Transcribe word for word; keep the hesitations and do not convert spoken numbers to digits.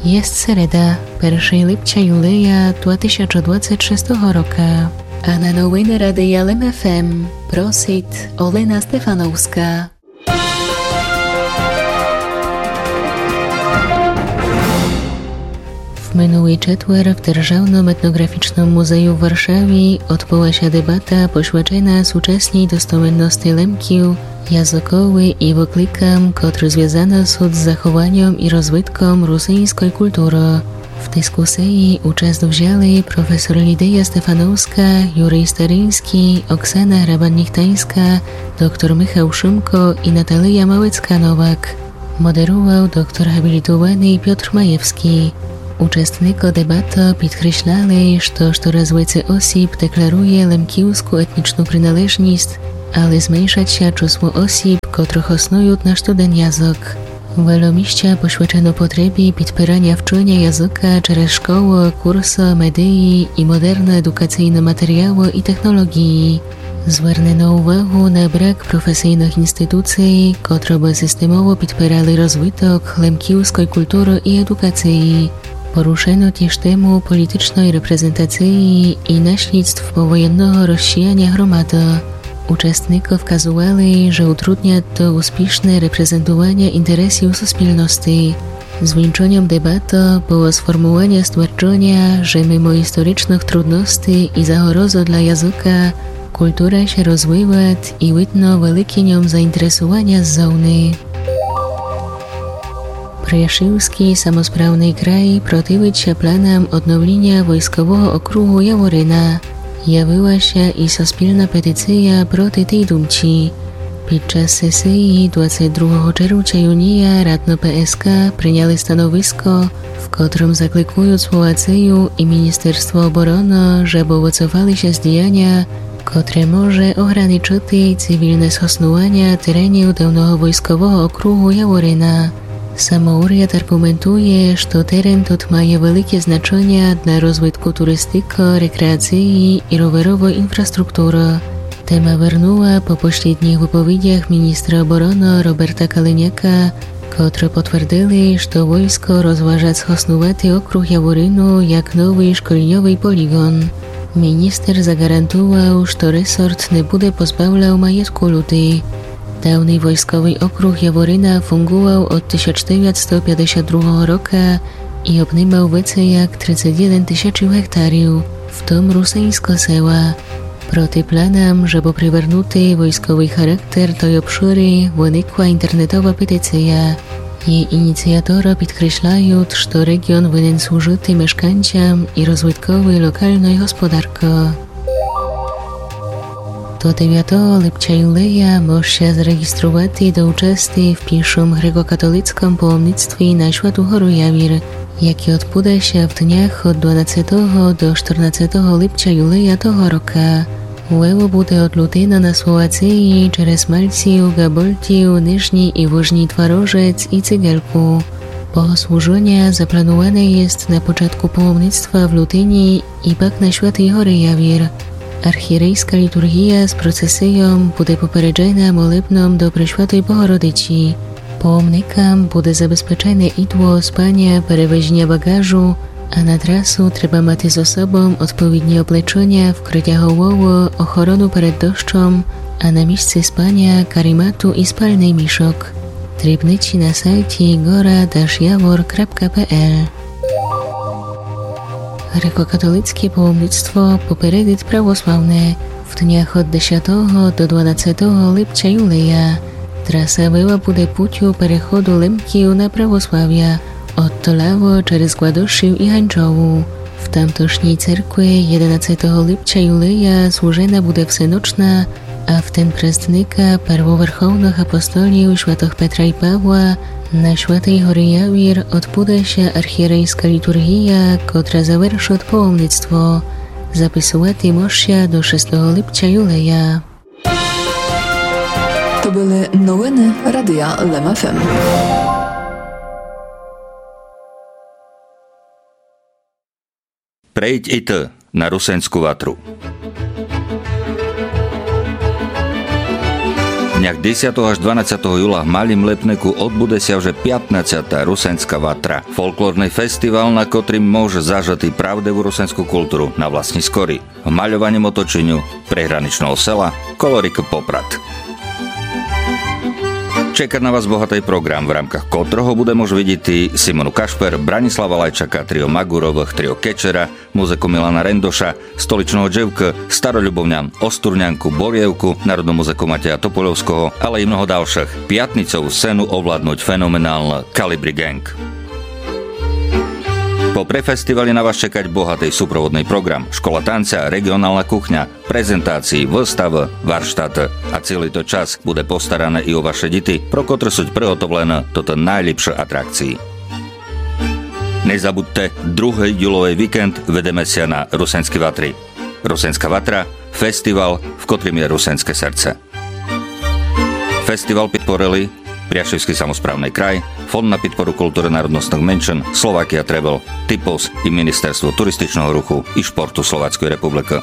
Єст середа, першый липця юлея два тисячы двадцет шестого рока. А на новины Радия Лем ФМ просит Олена Стефановска. В минулый четвер в Державным етнографічным музею в Варшаві одбыла ся дебата, посвячена сучасній достоменности Лемків, языкови і выкликам, котры звязаны сут з захованьом і розвитком русиньской культуры. В дискусиі участь взяли професор Лідия Стефановска, Юрий Стариньскій, Оксана Грабан-Нихтаньска, доктор Михал Шымко і Наталия Малецка-Новак. Модерувал доктор габлітованый Пьотр Маєвскій. Участникы дебаты підкресляли, што штораз веце осіб декларує лемківску етнічну приналежніст, але зменшат ся чысло осіб, котры хоснуют наш студен язык. Вельо місця посвячено потребі підпираня вчыня языка через школы, курсы, медиі і модерны едукацийны матеріялы і технолоґіі. Звернено увагу на брак професийных інституций, котры бы системово підпирали розвиток лемківской культуры і едукациі. Порушено тіж тему політичной репрезентациі і наслідств повоєнного розсіяня громады. Участникы вказували, же утруднят то успішне репрезентуваня інтересів суспільности. Звінчоньом дебаты было сформуваня стверджоня, же мимо історичных трудностей і загорозы для языка, культура ся розвиват і видно великє ньом заінтересуваня ззовни. Пряшівскій самосправный край противит ся планам одновліня войскового округу Яворина. Явила ся і суспільна петиція проти тей думцї. Під час сесиі двадцет другого червця юния радно ПСК приняли становиско, в котрым закликуют Словацию і Міністерство обороны, жебы выцофали ся з діяня, котре може ограничыти цивільне схоснуваня теренів давного войскового округу Яворина. Самоуряд арґументує, што терен тот має великє значыня для розвитку туристикы, рекреациі і роверовой інфраструктуры. Тема вернула по послідніх выповідях міністра обороны Роберта Калиняка, котры потвердили, што войско розважат схоснувати округ Яворину як новый школьньовый поліґон. Міністер заґарантувал, што ресорт не буде позбавлял маєтку люди. Давный войсковый округ Яворина фунґувал од тисяч девятсто пятдесят другого рока і обнимал веце як тридцет єден тисячів гектарів, в тым русиньскы села. Проти планам, жебы привернути войсковый характер той обшыры, выникла інтернетова петиція. Єй ініціаторы підкресляют, што реґіон винен служыти мешканцям і розвиткови локальной господаркы. До девятого липця юлея мож ся зареґістровати до участи в пішым грекокатолицькым паломництві на Святу гору Явір, яке одбуде ся в днях од дванадцетого до штернадцетого липця юлея того рока. Выло буде од Лутина на Словациі через Мальців, Ґабольтів, Нижній і Вужній Тварожец і Цигельку. Богослужыня заплануване єст на початку паломництва в Лутині і пак на Святій горі Явір. Архієрейска літурґія з процесийом буде попереджена молебном до Пресвятої Богородиці. Паломникам буде забезпечене ідло, спаня, перевезеня багажу, а на трасу треба мати з собом одповідні облечыня, вкрытя головы, охорону перед дощом, а на місци спаня карімату і спальный мішок. Дрібниці на сайті гора даш явор крапка пе ел. Грекокатолицке паломництво попередит православне в днях од десятого до дванадцетого липця юлея. Траса вела буде путю переходу Лемків на православя од Толавы через Гладошів і Ганчову. В тамтошній церкви єденадцетого липця юлея служена буде всеночна, а в ден престника первоверховных апостолів святых Петра і Павла на Святій горі Явір одбуде ся архієрейска літурґія, котра завершит паломництво. Записувати мож ся до шестого липця юлея. То были новины Радия Лем ФМ. Прейдь і ты на Русенську ватру. Десятого аж дванадцятого юла в Малім Липнику одбуде ся вже пятнадцята Русенска ватра, фолклорный фестівал, на котрім мож зажыти правдиву русенску културу на власні скорі, в мальованім оточеню приграничного села коло рікы Попрад. Чека на вас богатый програм, в рамках котрого буде мож видіти Симону Кашпер, Браніслава Лайчака, трио Магуровых, трио Кечера, музыку Мілана Рендоша, Столичного Дживкы, Старолюбовнян, Остурнянку, Борєвку, народну музыку Матея Топольовского, але і много далшых. Пятницову сцену овладнуть феноменалны Калібрі Ґенґ. Попри фестівалі на вас чекать богатый супроводный програм: школа танця, реґіонална кухня, презентації, выставы, варштаты. А цілый тот час буде постаране і о ваше діти, про котры суть приготовлены тоты найліпшы атракції. Не забудте, другый юловый вікенд видиме ся на Русенскій ватрі. Русенска ватра — фестівал, в котрім є русенске серце. Фестівал підпорили Пряшівскій самосправный край, Фонд на підпору културы народностных меншин, Словакія Тревел, Типос і Міністерство туристичного руху і шпорту Словацької Републікы.